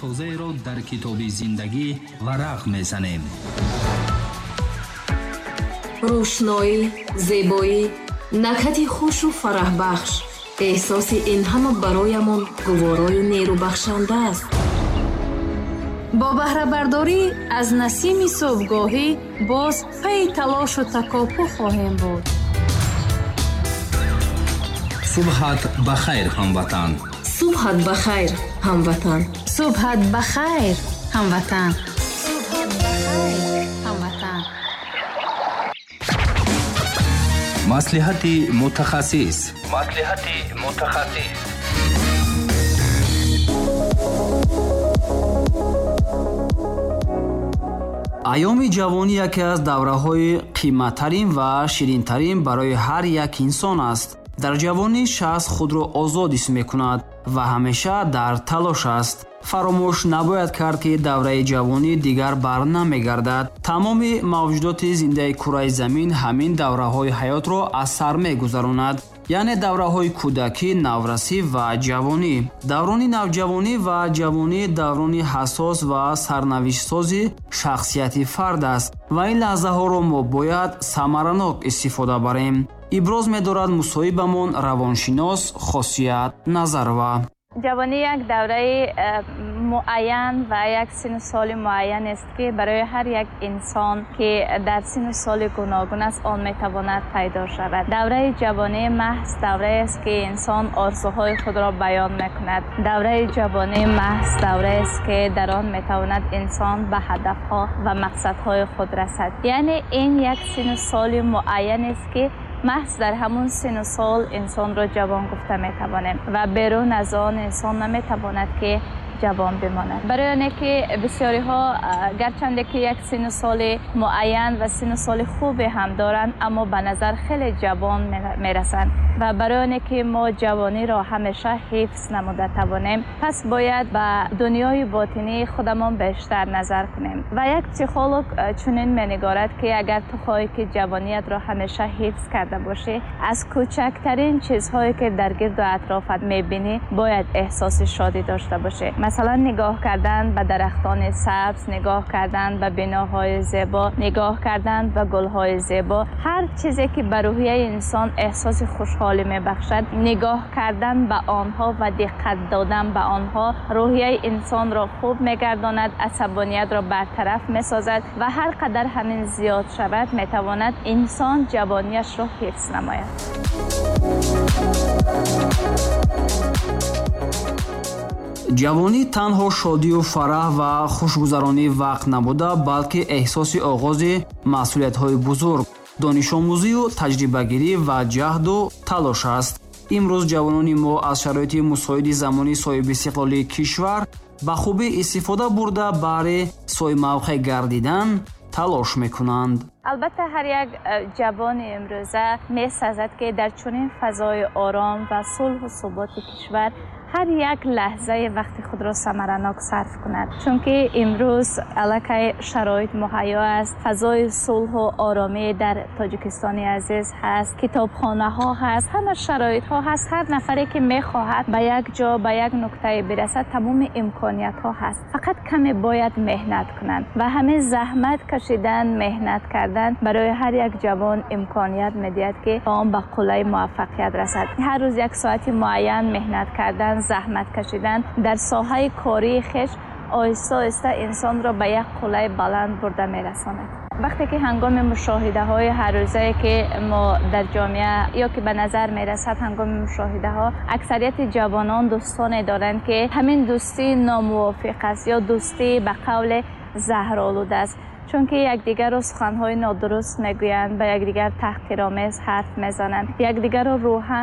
Тозаеро дар китоби зиндагӣ варақ мезанем. Рӯшноӣ, зебоӣ, накҳати хушу фараҳбахш. Эҳсоси ин ҳама бароямон гуворою нерӯбахшанда аст. Бо баҳрабардорӣ аз насими субҳгоҳӣ боз пайи талошу такопӯ хоҳем буд. Субҳат ба хайр, ҳамватан. Субҳат ба хайр, ҳамватан. Субҳат ба хайр, ҳамватан. Субҳат ба хайр, ҳамватан. Маслиҳати мутахассис. Маслиҳати мутахассис. Айёми ҷавонӣ яке аз давраҳои қиматтарин ва ширинтарин барои ҳар як инсон аст. Дар ҷавонӣ шахс худро озод ҳис мекунад ва ҳамеша дар талош аст. Фаромӯш набояд кард, ки давраи ҷавонӣ дигар бар намегардад. Тамоми мавҷудоти зиндаи кураи замин ҳамин давраҳои ҳаётро аз сар мегузаронад, яъне давраҳои кӯдакӣ, наврасӣ ва ҷавонӣ. Даврони навҷавонӣ ва ҷавонӣ даврони ҳассос ва сарнавиштсози шахсияти фард аст ва ин лаҳзаҳоро мо бояд самаранок истифода барем. Иброз медорад мусоҳибамон равоншинос Хосият Назарова. Ҷавонӣ як давраи муайян ва як синну соли муайян аст, ки барои ҳар як инсон, ки дар синну соли гуногун аст, он метавонад пайдо шавад. Давраи ҷавонӣ маҳз давраест, ки инсон орзуҳои худро баён мекунад. Давраи ҷавонӣ маҳз давраест, ки дар он метавонад инсон ба ҳадафҳо ва мақсадҳои худ расад. Яъне ин як синну соли муайян аст, ки маҳз дар ҳамун синну сол инсонро ҷавон гуфта метавонем ва берун аз он инсон наметавонад, ки ҷавон бимонад. Барои оне ки бисёриҳо, гарчанде ки як синну соли муайян ва синну соли хубе ҳам доранд, аммо ба назар хеле ҷавон мерасанд. Ва барои оне ки мо ҷавониро ҳамеша ҳифз намуда тавонем, пас бояд ба дунёи ботинии худамон бештар назар кунем. Ва як психолог чунин менигорад, ки агар ту хоҳӣ, ки ҷавониятро ҳамеша ҳифз карда бошӣ, аз кӯчактарин чизҳое, ки дар гирду атрофат мебинӣ, бояд эҳсоси шодӣ дошта бошӣ. Масалан, нигоҳ кардан ба дарахтони сабз, нигоҳ кардан ба биноҳои зебо, нигоҳ кардан ба гулҳои зебо, ҳар чизе ки ба рӯҳияи инсон эҳсоси хушҳолӣ мебахшад, нигоҳ кардан ба онҳо ва диққат додан ба онҳо рӯҳияи инсонро хуб мегардонад, асабониятро бартараф месозад ва ҳар қадар ҳамин зиёд шавад, метавонад инсон ҷавониашро ҳифз намояд. Ҷавонӣ танҳо шодию фараҳ ва хушгузаронии вақт набуда, балки эҳсоси оғози масъулиятҳои бузург, донишомӯзию таҷрибагирӣ ва ҷаҳду талош аст. Имрӯз ҷавонони мо аз шароити мусоиди замони соҳибистиқлолии кишвар ба хубӣ истифода бурда, баҳри соҳибмавқеъ гардидан талош мекунанд. Албатта, ҳар як ҷавони имрӯза месазад, ки дар чунин фазои ором ва сулҳу суботи кишвар ҳар як лаҳзаи вақти худро самаранок сарф кунад, чунки имрӯз аллакай шароит муҳайё аст, фазои сулҳу оромӣ дар Тоҷикистони азиз ҳаст, китобхонаҳо ҳаст, ҳама шароитҳо ҳаст. Ҳар нафаре, ки мехоҳад ба як ҷо, ба як нуктае бирасад, тамоми имкониятҳо ҳаст. Фақат каме бояд меҳнат кунанд ва ҳамин заҳмат кашидан, меҳнат кардан барои ҳар як ҷавон имконият медиҳад, ки он ба қуллаи муваффақият расад. Ҳар рӯз як соати муайян меҳнат кардан, заҳмат кашидан дар соҳаи кории хеш оҳиста оҳиста инсонро ба як қуллаи баланд бурда мерасонад. Вақте ки ҳангоми мушоҳидаҳои ҳаррӯзае, ки мо дар ҷомеа ё ки ба назар мерасад, ҳангоми мушоҳидаҳо аксарияти ҷавонон дӯстоне доранд, ки ҳамин дӯстӣ номувофиқ аст ё дӯстӣ ба қавле заҳролуд аст, чунки якдигарро суханҳои нодуруст мегӯянд, ба якдигар таҳқиромез ҳарф мезананд, якдигарро рӯҳан